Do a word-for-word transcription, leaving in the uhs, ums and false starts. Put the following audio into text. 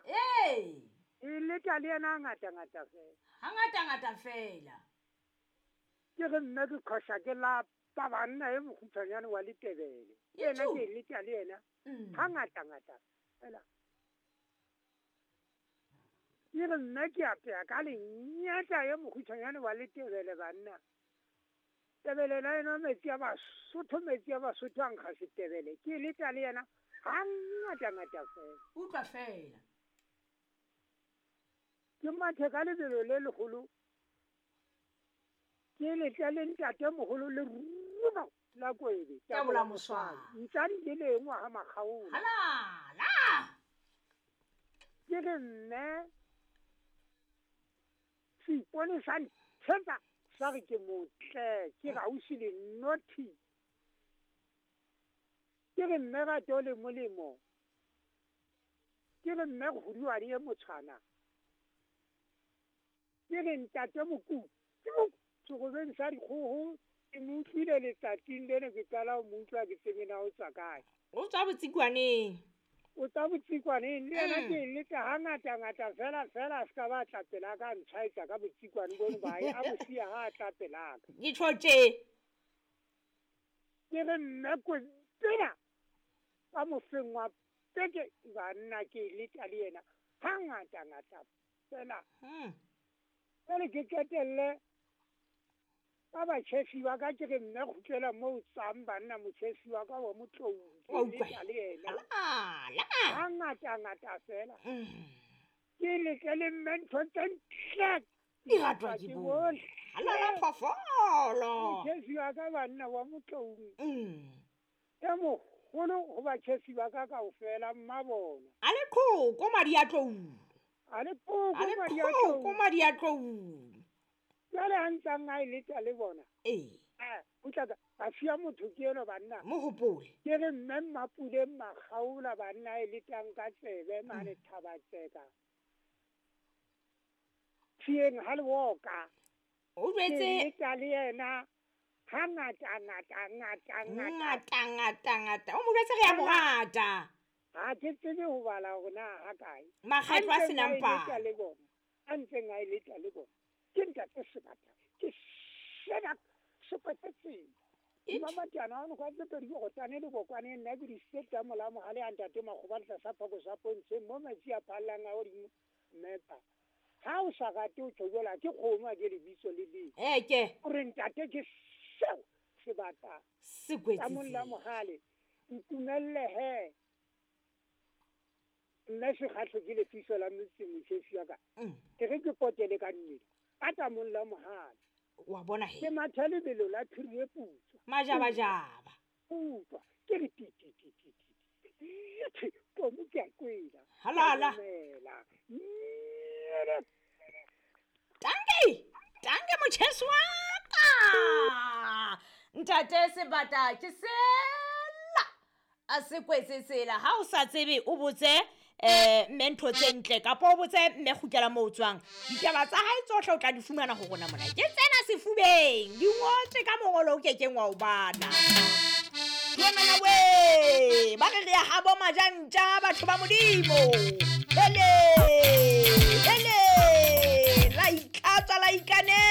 yena. Ee. E leta le yena ngata ngata fela. Ha ngata ngata fela. Ke re mme ke khosha ke la pa banna e mokgutshwanyane wa Letebele. Yena ke leta le yena. Ha ngata ngata fela. Ke re mme ke apea ka lenyata e mokgutshwanyane wa Letebele banna. Tebele la ena metsi a Basotho metsi a Basotho a nkga setebele. Ke leta le yena ha ngata ngata fela. Utlwa fela. Ke mathe ka lebelo le leholo. Ke letla le ntate moholo le ruma la kwebe. Tabola moswana. Ntsadi le lengwe ha makgaola. Halala. Ke re mme seipone sa nthetsa sa re ke motle ke gausi le nothi. Ke re mme rato le molemo. Ke re mme kguduwane e motshwana. Ke re ntate Mokutu segobeng sa dikgoho ke mo utlwile letsatsing lena ke qala ho mo utlwa ke tsebe na o tswa kae. O tswa botsikwaneng. O tswa botsikwaneng le yena ke letsa ha ngata ngata fela fela a ska ba tla pela ka ntshwaetsa ka botsikwane bono ba a bo siya ha tla pela ka. Ke tjho tje. Ke re mme Kwena ka mofeng wa peke banna ke letsa le yena ha ngata ngata fela. Mm. Pele ke qetelle ka batjhesi ba ka ke re mme kgutlela moo tswang banna motjhesi wa ka wa Motlou ke le yena. Halala. Ha ngata ngata fela. Ke letle le mme ntho tse ntle. Di ratwa ke bohle. Halala phofolo. Motjhesi wa ka banna wa Motlou. Mm. E moholo ho batjhesi ba ka kaofela mma bona. A le qhoko madi a tlou. A le qhoko madi a tlou. A le madi a tlou. Jwale ha ntsang a e letsa le bona. Ee. Eh, utlwa ka ba siya motho ke eno banna. Mo hopole. Ke re mme Mmapule Makgaola banna e letang ka tsebe mane Thabatseka. Tshiyeng ha le woka. O jwetse ke letsa le yena ha ngata ngata ngata ngata. Ngata ngata ngata. O mo jwetse re ya mo rata. Ha ke tsebe ho bala hore na ha kae. Makgetlo a senang palo. A ntseng a e letsa le bona. Ke ntate Sebata ke sena sepetetseng. Mama ono kwa tse pedi go tane le bokwane nna ke di setla mola mogale a ntate Makgoba le tlasa phako sa pontsheng mo metsi a phallang a godimo mmepa. Ha o sa rate o tjhojola ke kgomo a ke lebitso le le. Eh ke. O re ntate ke seo Sebata. Se kwetse. Ka mola mogale ntumelle he. Nna sekgahlo ke lefiso la motse motjhesi wa ka. Ke re ke potele ka mmele. Ka tamong la mohale. Wa bona he. Ke matha lebelo la phiri e putswa. Majabajaba. Putswa. Ke re ti ti ti ti ti. Komo ke a kwela. Halala. Tanke. Tanke motjhesi wa ka. Ntate Sebata ke sela. A se kwetse tsela ha o sa tsebe o botse eh mme ntho tse ntle kapa o botse mme kgutlela moo o tswang. Ditaba tsa hae tsohle o tla di fumana ho rona mona. Ke tsena sefubeng di ngotswe ka mongolo o kekeng wa o bala. Tloemana we ba re re ya habo majantja batho ba Modimo. Hele hele la itlhatswa la ikanela.